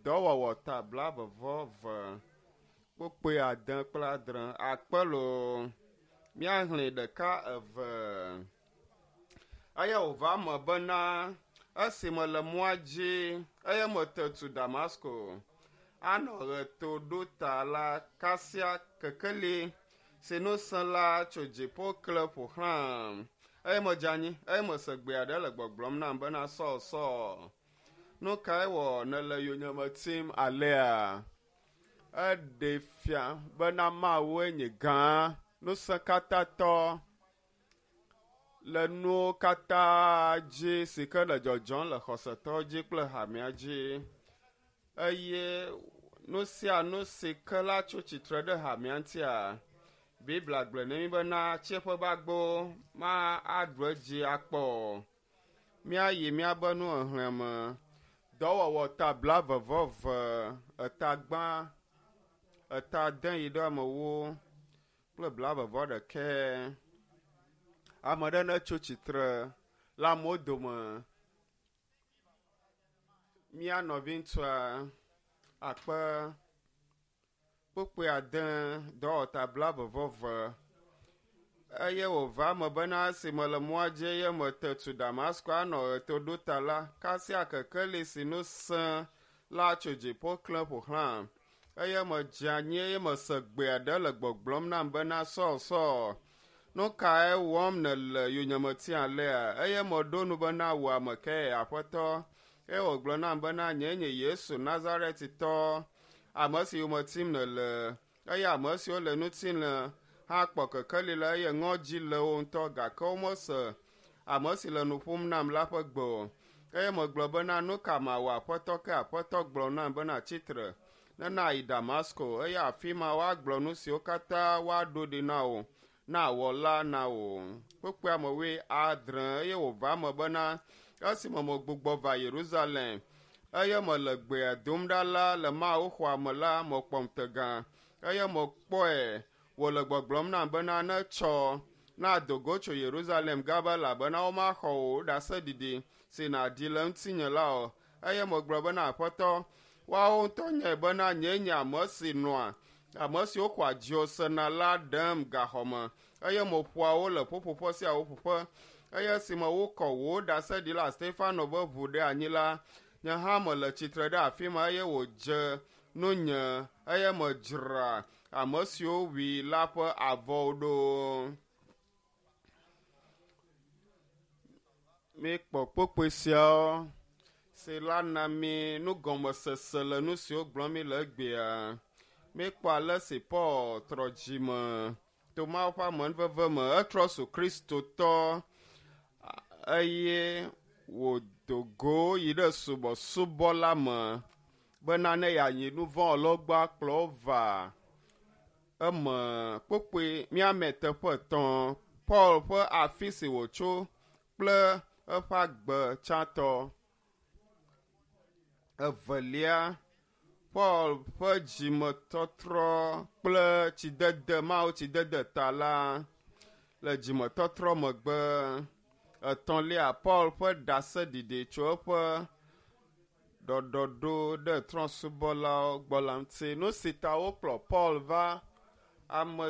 Dɔwɔwɔ ta blaeve-vɔ-eve kpukpui ade kple adre akpe loo. Míaxlẽ ɖeka eve. Eye wòva eme bena esi mele mɔa dzi eye mete tu Damasko anɔ ɣetoɖota la, kasia kekeli si nu sẽ la tso dziƒo kle ƒo xlãm. Eye medze anyi eye mese gbe aɖe le gbɔgblɔm nam bena, Saul, Saul, nu kae wɔ nèle yonyeme tim alea? Eɖee fia bena Mawue nye gã, ŋusẽkatãtɔ le nuwo katã dzi si ke le dzɔdzɔm le xɔsetɔwo dzi kple hamea dzi. Eye nu sia nu si ke la tso tsitre ɖe hamea ŋutia, Biblia gblɔe na mí bena tsiẽƒe ƒe agbo ma aɖu edzi akpɔ o. Míayi míabe nuxexlẽ me. Dɔwɔwɔ ta blaeve-vɔ-eve, eta gbã, eta ade yi ɖe ame ewo kple blaeve-vɔ-ɖekɛ. Ame ɖe netso tsitre le amewo dome. Mía nɔviŋutsua akpe kpukpui ade dɔwɔta blaeve-vɔ-eve. Eye wòva eme bena esi mele mɔa dzi eye mete tu Damasko anɔ ɣetoɖota la, kasia kekeli si nu sẽ la tso dziƒo klẽ ƒo xlãm. Eye medze anyi eye mese gbe aɖe le gbɔgblɔm nam bena, Saul, Saul, nu kae wɔm nèle yonyeme tim alea? Eye meɖo nu bena, Wò ame kae, Aƒetɔ? Eye wògblɔ nam bena, Nyee nye Yesu Nazaretitɔ, ame si yome tim nèle. Eye ame siwo le ŋutilã hã kpɔ kekeli la eye ŋɔdzi le wo ŋutɔ, gake womese ame si le nu ƒom nam la ƒe gbe o. Eye megblɔ bena, Nu ka mawɔ, Aƒetɔ? Ke Aƒetɔ gblɔ nam bena, Tsi tre, ne nàyi Damasko, eye afi ma woagblɔ nu siwo katã woaɖo ɖi na wò ne àwɔ la na wò. Kpukpuia me wuiadre. Eye wòva eme bena, esime megbugbɔ va Yerusalem, eye mele gbea dom ɖa la le mawuxɔa me la, mekpɔ ŋutega, eye mekpɔe wòle gbɔgblɔm nam bena, Netsɔ, nado go tso Yerusalem gaba, elabena womaxɔ wò ɖaseɖiɖi si nàɖi le ŋutinye la o. Eye megblɔ bena, Aƒetɔ, woawo ŋutɔ nyae bena nyee nye ame si nɔa ame siwo xɔa dziwò sena la ɖem gaxɔ me, eye meƒoa wo le ƒuƒoƒe sia ƒuƒoƒe. Eye esime wokɔ wò ɖaseɖila Stefano ƒe ʋu ɖe anyi la, nye hã mele tsitre ɖe afi ma eye wòdze nunye, eye medzra ame siwo wui la ƒe avɔwo ɖo. Míekpɔ kpukpui siawo si la na mí nugɔmesese le nu siwo gblɔm míle egbea. Míekpɔ ale si Paul trɔ dzi me to Mawu ƒe amenuveve me. Etrɔ zu Kristotɔ eye wòdo go yi ɖe subɔsubɔ la me bena ne yeanyi nu vɔ̃ wɔlawo gbɔ akplɔ wo va eme. Kpukpui míame teƒe etɔ̃, Paul ƒe afi si wòtso kple eƒe agbe tsãtɔ. Evelia, Paul ƒe dzimetɔtrɔ kple tsidede, Mawu tsidede ta la le dzimetɔtrɔ megbe. Etɔ̃lia, Paul ƒe ɖaseɖiɖi tso eƒe ɖɔɖɔɖo ɖe trɔ̃subɔlawo gbɔ la ŋuti. Nu si ta wokplɔ Paul va ame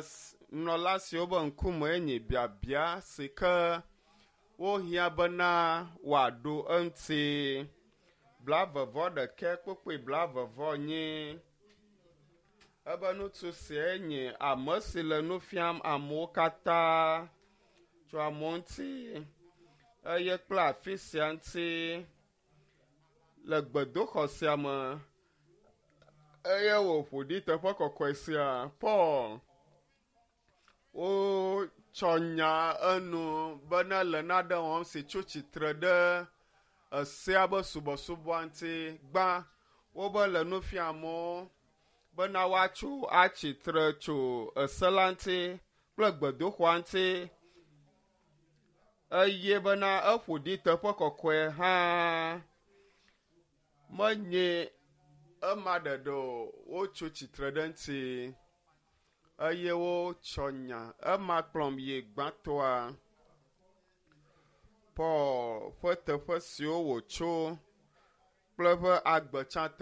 nunɔla siwo be ŋkume nye biabia si ke wohiã bena wòaɖo eŋuti. Blaeve-vɔ-ɖekɛ kpukpui blaeve-vɔ-enyi. Ebe ŋutsu siae nye ame si le nu fiam amewo katã tso amewo ŋuti eye kple afi sia ŋuti. Le gbedoxɔ sia me eye wòƒo ɖi teƒe kɔkɔe sia. Paul wotsɔ nya enu bena le nane wɔm si tso tsitre ɖe esea be subɔsubɔa ŋuti. Gbã, wobe le nu fiam amewo bena woatso atsi tre tso ese la ŋuti kple gbedoxɔa ŋuti. Eye bena eƒo ɖi teƒe kɔkɔe hã. Menye ema ɖeɖe o, wotso tsitre ɖe eŋuti eye wotsɔ nya. Ema kplɔm yi gbãtɔa, Paul ƒe teƒe siwo wòtso kple eƒe agbe tsãtɔ.